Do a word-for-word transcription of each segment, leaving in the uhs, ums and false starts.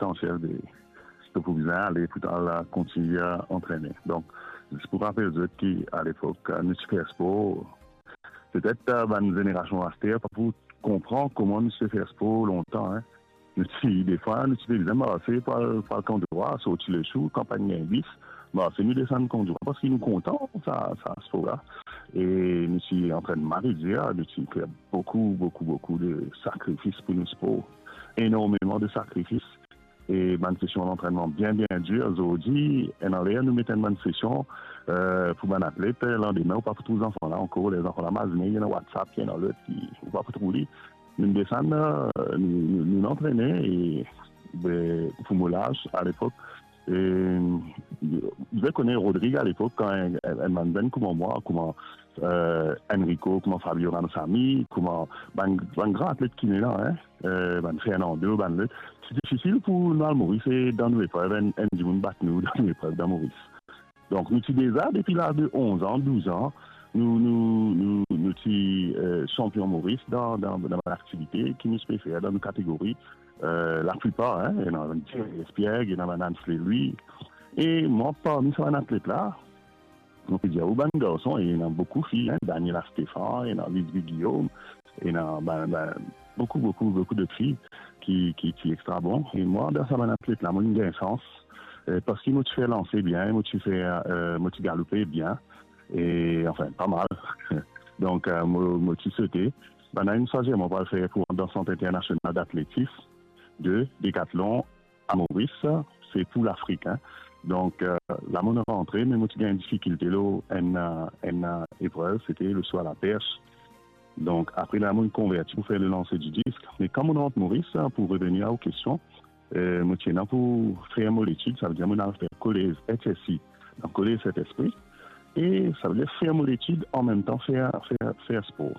potansiel de, ki to pou bizin ale pou to al kontigne antrene. Donk, zis pou rapel zot ki, alepok, nou ti fer spor. Petet, eh, bann zenerasion aster pa pou konpran kouma nou ti fer spor lontan, en. Nou ti, defwa, nou ti pe bizin marse pou al, pou al Kan Dwa, sorti Lesourd, kan pa'nn gagn bis, marse nou desann Kan Dwa, parski nou kontan sa, sa spor la. E nou ti antrennman, nou ti fer boukou, boukou, boukou de sakrifis pou nou spor. Enormeman de sakrifis. E bann sesion lantrennman bien, bien dir. Zordi, ena ler nou met enn bann sesion, eh, pou bann atlet, landime, ou pa pou trouv zanfan la ankor. Ler zanfan la mazine, ena WhatsApp, ena lot, ou pa pou trouv li. Nou desann, eh, nou, nou, nou antrene, e, be, pou mo laz, alepok, e, zot kone Rodrig alepok, kan enn, enn, enn bann zenn kouma mwa, kouma, eh, Enrico, kouma Fabio Ramsamy, kouma bann, bann gran atlet ki ena la, en, eh, bann Fernando, bann lot, ti difisil pou nou al Moris e dan nou eprev, enn, enn dimoun bat nou dan nou eprev dan Moris. Donk, nou ti deza, depi laz de onz an, douz an, nou, nou, nou, nou ti, eh, sanpion Moris dan, dan, dan bann aktivite ki nou ti pe fer dan nou kategori. Eh, laplipar, en, ena bann Thierry Espiègue, ena bann Ansley Louis. E mwa, parmi sa bann atlet la, mo pe dir ou bann garson, e ena boukou fi, en, Daniela Stéphan, ena Lisby Guillaume, ena bann, bann, boukou, boukou, boukou dot fi ki, ki, ki extra bon. E mwa, dan sa bann atlet la, mo inn gagn sans, eh, parski mo ti fer lanse bien, mo ti fer, eh, mo ti galoupe bien, e, anfin, pa mal. Donk, eh, mo, mo ti sote. Bann la inn swazir mwa pou al fer pou dan Sant Internasional Datletis de Decathlon a Moris, se pou Lafrik, en. Donk, eh, la mo rantre, me mo ti gagn difikilte lor enn, eh, enn, eh, eprev, sete le saut à la perche. Donk, apre la, mo konverti pou fer le lanse di disk. Me kan mo rant Moris, eh, pou revenir a ou kestion, eh, mo ti ena pou fer mo letid, savedir mo al fer kolez H S I, dan kolez Saint-Esprit, e savedir fer mo letid, anmemtan fer, fer, fer spor.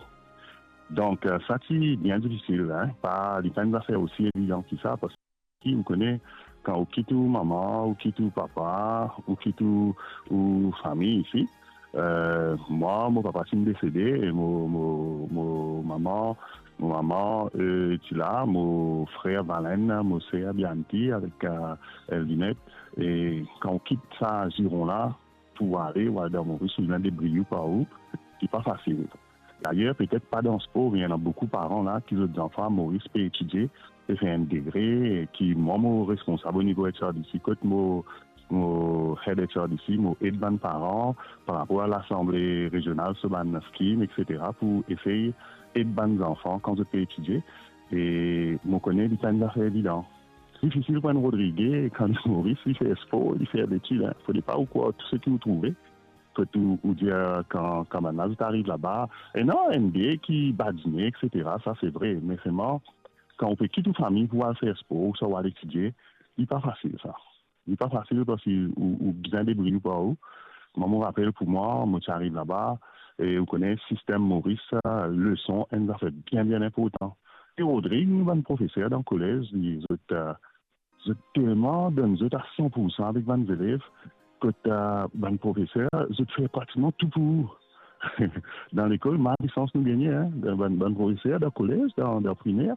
Donk, eh, sa ti bien difisil, en. Pa, li pa enn zafer osi evidan ki sa, parski ou kone, kan ou kit ou mama, ou kit ou papa, ou kit ou, ou fami isi, eh, mwa, mo papa ti desede, e mo, mo, mo mama, mo mama, eh, ti la, mo frer Valen, mo ser Bianchi avek, eh, Elvinette, e kan ou kit sa ziron la, pou ale, ou al dan Moris, ou bizin debriy ou par ou, li pa fasil. Dayer, petet pa dan spor, me ena boukou paran la ki zot zanfan Moris pe etidie, pe fer enn degre, e ki mwa, mo responsab o nivo H R D C, kot mo, mo head H R D C, mo ed bann paran par rapor a lasanble rezional, so bann scheme, et cetera, pou esey ed bann zanfan kan zot pe etidie. E mo kone li pa enn zafer evidan. Difisil pou enn Rodrige, kan li Moris, li fer spor, li fer letid, en. Fode pa ou krwar tou seki ou trouve. Fode ou, ou dir, kan, kan bann la zot ariv laba, e non, enn de ki badine, et cetera, sa se vre. Me selman, kan ou pe kit ou fami pou al fer spor, ouswa ou al etidie, li pa fasil, sa. Li pa fasil parski ou, ou bizin debriy ou par ou. Mwa, mo rapel pou mwa, mo ti ariv laba, e ou kone, sistem Moris, leson, enn zafer bien, bien inportan. E Rodrig, nou bann profeser dan kolez, li, zot, eh, zot telman donn zot a san pou san avek bann zelev, kot, eh, bann profeser, zot fer pratikman tou pou ou. Dan lekol, male sans nou gagne, en. Bann, bann profeser dan kolez, dan, dan primer,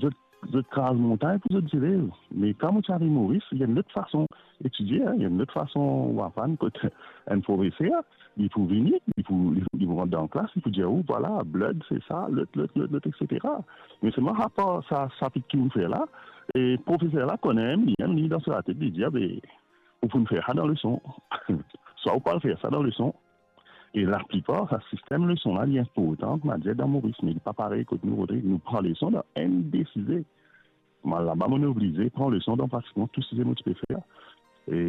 zot, zot kraz montagn pou zot zelev. Me kan mo ti ariv Moris, li enn lot fason etidie, en, li enn lot fason ou aprann, kot enn profeser, li pou vini, li pou, li, li pou rant dan klas, li pou dir ou, vwala, blood, se sa, lot, lot, lot, lot, et cetera. Me selman, apar sa, sapit ki ou fer la, e profeser la kone, li mem, li dan so latet, li dir, be, ou pou fer sa dan leson. Swa ou pa fer sa dan leson. E laplipar, sa sistem leson la, li inportan, koumadir, dan Moris, me li pa parey kot nou, Rodrig, nou pran leson dan enn de size. Mwa, laba, mo oblize pran leson dan pratikman tou size mo ti pe fer. E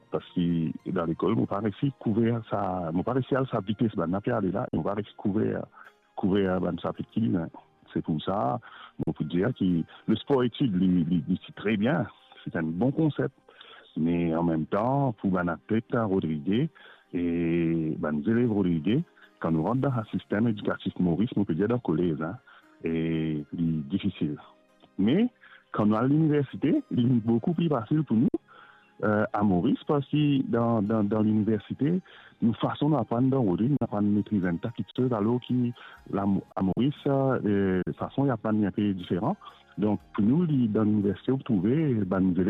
parski dan lekol, mo pa resi kouver sa, mo pa resi al sa vites bann la pe ale la, e mo pa resi kouver, kouver bann sapit ki bizin. Se pou sa, mo pou dir ki le spor etid, li, li, li ti tre bien, se enn bon konsep. Me anmemtan, pou bann atlet Rodrige e bann zelev Rodrige, kan nou rant dan sa sistem edikatif Moris, mo pe dir dan kolez, en, e li difisil. Me, kan nou al liniversite, li vinn boukou pli fasil pou nou, eh, a Moris, parski dan, dan, dan liniversite, nou fason nou aprann dan Rodrig, nou aprann metriz enn ta kiksoz, alor ki la, a Moris, eh, fason li aprann li inpe diferan. Donk, pou nou, li, dan liniversite, ou trouve bann zelev